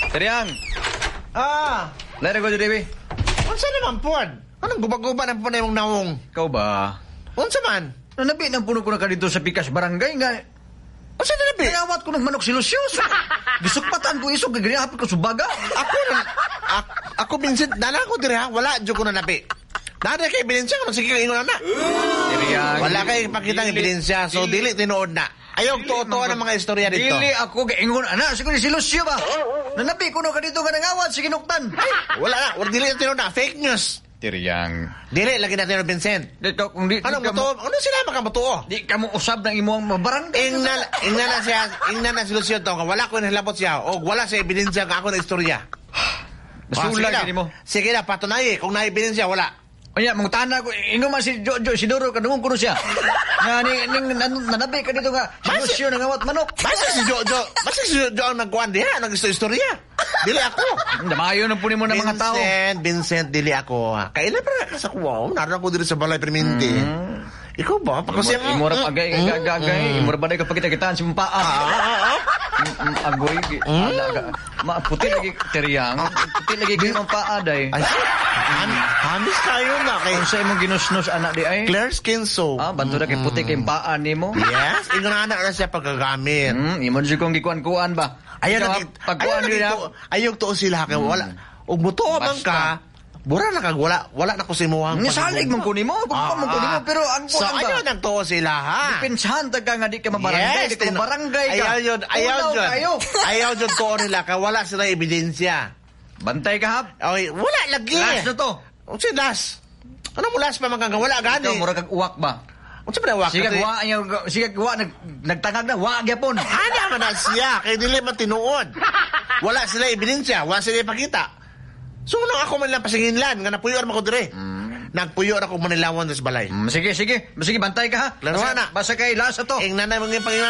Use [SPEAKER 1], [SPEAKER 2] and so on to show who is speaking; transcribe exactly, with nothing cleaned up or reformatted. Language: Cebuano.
[SPEAKER 1] Teriyang,
[SPEAKER 2] Ah,
[SPEAKER 1] lain ko diri.
[SPEAKER 2] Unsa naman pod? Anong guba-guba na po na imong nawong?
[SPEAKER 1] Ikaw ba?
[SPEAKER 2] Unsa man?
[SPEAKER 1] Nanabi ng puno ko na ka dito sa Pikas Barangay nga.
[SPEAKER 2] Unsa na nabi?
[SPEAKER 1] Nangawat ko ng manok si Lucius. Gisukpatan ko isog, gagayapit ko subaga.
[SPEAKER 2] Ako na, ako, ako Vincent, dala ko diri ha, wala jud ko na nabi. Nada kay ebidensya kung sige ka ingon na.
[SPEAKER 1] Teriyang.
[SPEAKER 2] Wala kay ipakita ang ebidensya, so dili tinuod na. Ayaw tuo-tuo ng mga istorya dito.
[SPEAKER 1] Dili ako gaingon ana, siguro si Lucio ba? Nanabi ko no ka dito nga nangawat si Ginuktan.
[SPEAKER 2] Ay, wala na, wala dili na tinuod na, fake news.
[SPEAKER 1] Teriyang.
[SPEAKER 2] Dili lagi na tinuod, Vincent.
[SPEAKER 1] Dito kung di,
[SPEAKER 2] Anong
[SPEAKER 1] di ka mo,
[SPEAKER 2] mutuo? Ano sila makamutuo?
[SPEAKER 1] di ka mo usab ng imong barangay.
[SPEAKER 2] Ingna, ingna na siya, ingna na si Lucio to, nga wala ko nahilabot siya, o wala sa ebidensya nga ako na istorya. Ah, sige
[SPEAKER 1] Basulag
[SPEAKER 2] na.
[SPEAKER 1] gini mo.
[SPEAKER 2] Sige na, patunay kung na ebidensya, wala.
[SPEAKER 1] Unya, mong tana ko, ingon man si Jojo Isidoro, kadungong kuno siya. Nga, ni, ning, nan, nanabi ka dito nga, si
[SPEAKER 2] Basi-
[SPEAKER 1] Lucio nangawat manok.
[SPEAKER 2] Basta si Jojo, basta si Jojo ang nagkuhan diha, nag-istorya. Dili ako.
[SPEAKER 1] Damayo na po nimo ng mga tao.
[SPEAKER 2] Vincent, Vincent, dili ako. Kailan pa ka sa kuwa? Naroon ako diri sa balay perminti. Ikaw ba? Pagkasi
[SPEAKER 1] Imo ra agay agay agay, imo ra ba ka pagkita-kitaan si mong paa.
[SPEAKER 2] Ah, ah, ah.
[SPEAKER 1] Mm, mm, Agoy, gi- ala, ga- ma puti lagi teriyang, puti lagi kay mong paa day.
[SPEAKER 2] Ay, ham, hamis kayo na kay
[SPEAKER 1] Unsa imong ginusnos anak di ay?
[SPEAKER 2] Clear Skin Soap.
[SPEAKER 1] Ah, banto na kay puti kay paa nimo.
[SPEAKER 2] Yes, ingon na na siya pagkagamit.
[SPEAKER 1] Hmm, imo jud kong gikuan-kuan ba.
[SPEAKER 2] Ayaw
[SPEAKER 1] Ikaw,
[SPEAKER 2] na
[SPEAKER 1] pagkuan
[SPEAKER 2] ayaw
[SPEAKER 1] nila.
[SPEAKER 2] ayaw tuo sila kay wala. Ug mutuo man
[SPEAKER 1] Basta.
[SPEAKER 2] ka, bura na kag wala wala na ko sa imuhang
[SPEAKER 1] Nga salig man ko nimo, kung pa man ko nimo, pero ang
[SPEAKER 2] Ah, So
[SPEAKER 1] kuan ba?
[SPEAKER 2] ayaw nang tuo sila ha.
[SPEAKER 1] Depensahan ta ka nga di ka mabarangay, di ka
[SPEAKER 2] tino-
[SPEAKER 1] mabarangay ka.
[SPEAKER 2] Ayaw yun, ayaw
[SPEAKER 1] Unaw
[SPEAKER 2] yun.
[SPEAKER 1] kayo.
[SPEAKER 2] Ayaw yun tuo nila kay wala sila ebidensya.
[SPEAKER 1] Bantay ka hap.
[SPEAKER 2] Okay, wala lagi.
[SPEAKER 1] Last na to.
[SPEAKER 2] Unsa last? Ano mo last pa man kang wala gani?
[SPEAKER 1] Ikaw mura kag uwak ba?
[SPEAKER 2] Unsa pa na
[SPEAKER 1] Sige wa anya sige wa nag nagtangag na wa gyapon.
[SPEAKER 2] Ana man na siya kay dili man tinuod. Wala sila ebidensya, wala sila ipakita. So nung ako man lang pasinginlan nga napuyo ra man ko dire. Nagpuyo ra ko Manilawan sa balay.
[SPEAKER 1] Mm, sige sige, sige bantay ka ha.
[SPEAKER 2] Laro
[SPEAKER 1] Basta-
[SPEAKER 2] na.
[SPEAKER 1] Basta kay last na to.
[SPEAKER 2] Ing nanay mong panginan.